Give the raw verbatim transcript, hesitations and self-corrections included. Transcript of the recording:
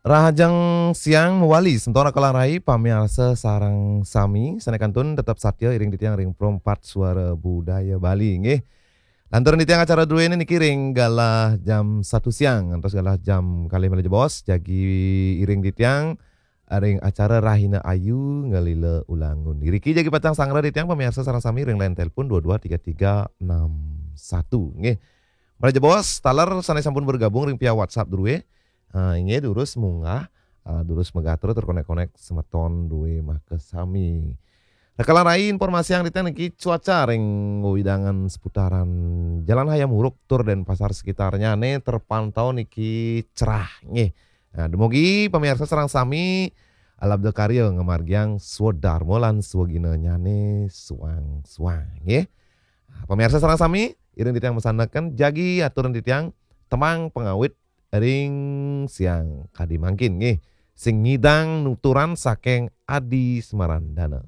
Rahajeng siang mawali, semeton Raka lan Rai, pamiarsa sareng sami, sané kantun tetep satia iring titiang ring Pro empat Suara Budaya Bali, nggih. Lantur titiang acara druéné niki ring galah jam satu siang, ngantos galah jam kalih malih jebos, jagi iring titiang ring acara Rahina Ayu Ngalila Ulangun. Iriki jagi pacang sangra titiang pamiarsa sareng sami ring line telepon dua dua tiga tiga enam satu, nggih. Malih jebos, taler sané sampun bergabung ring via WhatsApp drué, ah, inggih durus munggah, ah, durus magatra tur konek-konek semeton drué makasami. Raka lan Rai, informasiang titiang niki cuaca ring wewidangan seputaran Jalan Hayam Wuruk tur Denpasar sekitarnyané terpantau niki cerah, nggih. Nah, dumugi pamiarsa sareng sami alabda karya ngamargiang swadarma lan swaginanyané suang-suang, nggih. Nah, pamiarsa sareng sami, iring titiang masandekan jagi aturan titiang tembang pangawit ring siang kadi mangkin, nggih. Sing ngidang nuturan saking Adi Semarandana.